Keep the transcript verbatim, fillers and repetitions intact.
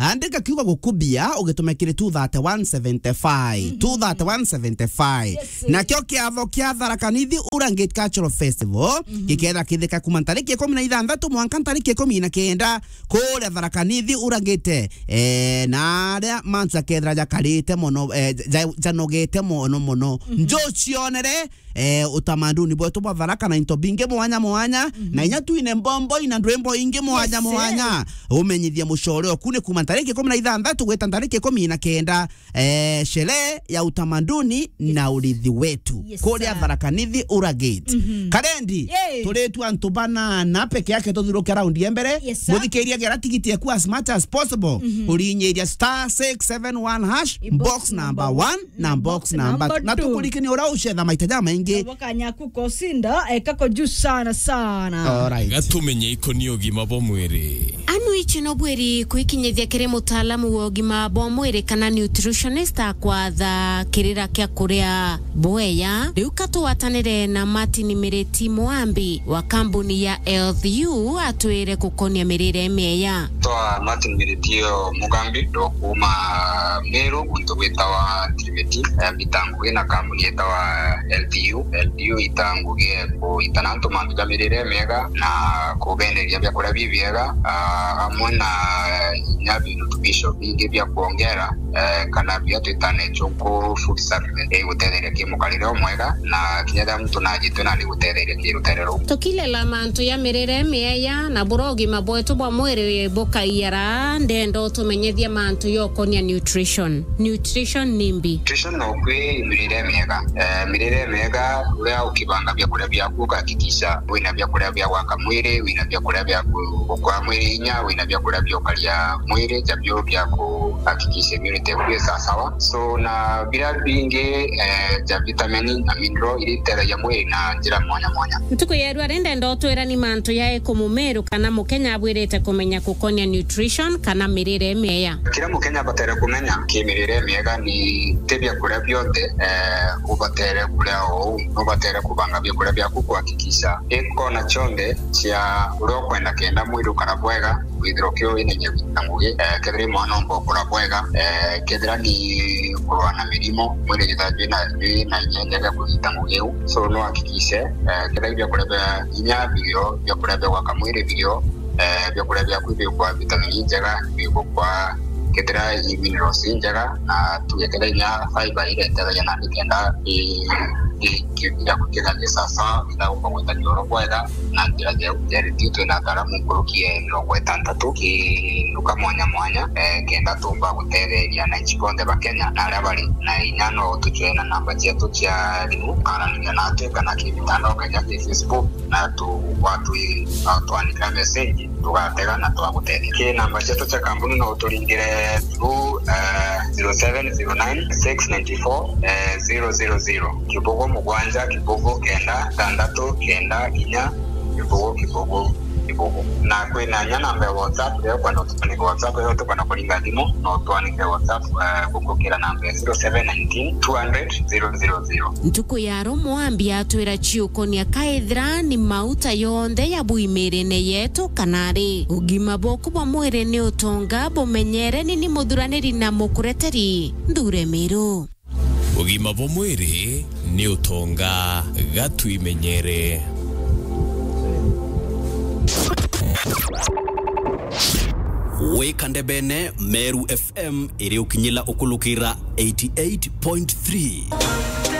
Andika kiugo gukubia, ugitume kiri two thirty one seventy five. Mhm. Two thirty one seventy five. Yes, sir. Nakio kiatho kia Tharaka Nithi Urangate Cultural Festival, mhm, gikethira kithika kuma ntariki ikumi na ithanthatu mwanka ntariki ikumi na kenda, kuria Tharaka Nithi Urangate. Eh, na aria mantu jakethira jakarite mono, eh, ja-, janogete mono mono. Mhm. Njucionere, eh, utamaduni bwetu bwa Tharaka na into bingi mwanya mwanya, mhm, na inya twine mbombo ina ndwimbo ingi mwanya, yes, sir, mwanya. Umenyithie mucore oku ni kuma ntariki ikumi na ithanthatu gwita ntariki ikumi na kenda, eh, sherehe ya utamaduni, yes, na urithi wetu, yes, kuria sir, Tharaka Nithi Urangate. Mhm. Karendi, yay, turitu antu banana peke yake tuthiruke raundi ya mbere. Yes, sir. Muthikiria gera tigiti eku as much as possible. Mhm. Urinyiria star six seven one hash, box number one, na box number, na tukurikini uria ucetha maita jamaingi. Boka nyaku kosinda, eh, kako juu sana sana. Alright. Gatumenye ikoni ugima bwa mwiri. Anu ici no bwiri kwikinyithia kiri mutaalamu wa ugima bwa mwiri kana nutritionist akwatha kirira kia kuria bweya. Riu ka tugwatanire na Martin Miriti Mwambi wa kambuni ya Health U atwire gukonia mirire mieya. Twa Martin Miriti Mugambi, ndo kuuma Meru, guntu gwitawa Tirimiti. Eh, mbita ngugi na kambuni yetawa L T U. L T U ita ngugi ya kuitana antu mantu ja mirire miega na kubenderia biakuria bibiega, ah, amwe na inya virutubisho bingi bia kuongera, eh, kana bia twita natural food supplement, igutetheria ki mukarire umwega, na kinya riria muntu najitwe nandi gutetheria ki rutere ruu. Tukilela mantu ya mirire miega na buria ugima bwetu bwa mwiri bukaiara, ndenda utumenyethie mantu yokonia nutrition. Nutrition ni mbi. Nutrition no kwi mirire miega. Eh, mirire miega, uria ukibanga biakuria biaku, ugakikisha wina biakuria bia gwaka mwiri, wina biakuria bia ku-, gukwa mwiri inya, wina biakuria bia ukaria mwiri, jabio bia kuhakikisha immunity yaku i sawasawa. So, na biria bingi, eh, ja vitamin na mineral iria itethagia mwiri na njira mwanya mwanya. Ntuku ya rua ri ndenda utwira ni mantu jariku mumeru kana mukenya abwirite kumenya gukonia nutrition kana mirire miega? Kiria mukenya abatere kumenya ki mirire miega ni ti biakuria bionthe, eh, ubatere kuria o uu. Nubatere kubanga biakuria biaku kuhakikisha i kona cionthe cia uria ukwenda kenda mwiri ukara bwega, withirwa ki wina inya gwita ngugi, eh, kethira i mwana omba ukura bwega, eh, kethira ni kurwa na mirimo, mwiri jithira jwina, jwina inya njega ya kunyita ngugi iu. So, no hakikishe, eh, kethira i biakuria bia inya birio, biakuria bia gwaka mwiri birio, eh, biakuria biaku bigukwa vitamin njega, bigukwa kethira i minerals njega, na tuge kethira inya fiber iria itethagia nandi kenda i, i, ki-, giaku kithithie sawasawa, kenda gukwa gwita kioro bwega, na njira ya, ya review twina ataaramu nkuruki ya mirongo itantatu ki nduka mwanya mwanya, eh, kenda tumba gutetheria ananchi bonthe ba Kenya na aria bari. Na inya no tucwee na namba cietu cia thimu, ukaraniria natwi kana ki mitandao kenya ki Facebook, na tu, watwi, watwandikira message, tugatega na twagutethia. Ki namba cietu cia kambuni no uturingire through, eh, zero seven zero nine six nine four, eh, zero zero zero. Kibugu mugwanja, kibugu kenda, tandatu, kenda, inya, kibugu, kibugu, kibugu. Na kwina inya namba ya WhatsApp, iria ukwenda utumanire WhatsApp, iria utukwenda kuringa thimu, no utwanike WhatsApp, eh, gukukira namba ya zero seven nineteen two hundred zero zero zero. Ntuku ya ru Mwambi atwira ciukonia kaithira ni mauta yonthe ya bwimirine yetu kana ri. Ugima bwaku bwa mwiri ni utonga, bumenyere ni ni muthuraniri na mukureteri Nthure Miru. Ugima bwa mwiri ni utonga, gatwimenyere. Wika ndebene, Meru F M iri ukinyila ukulukira eighty eight point three.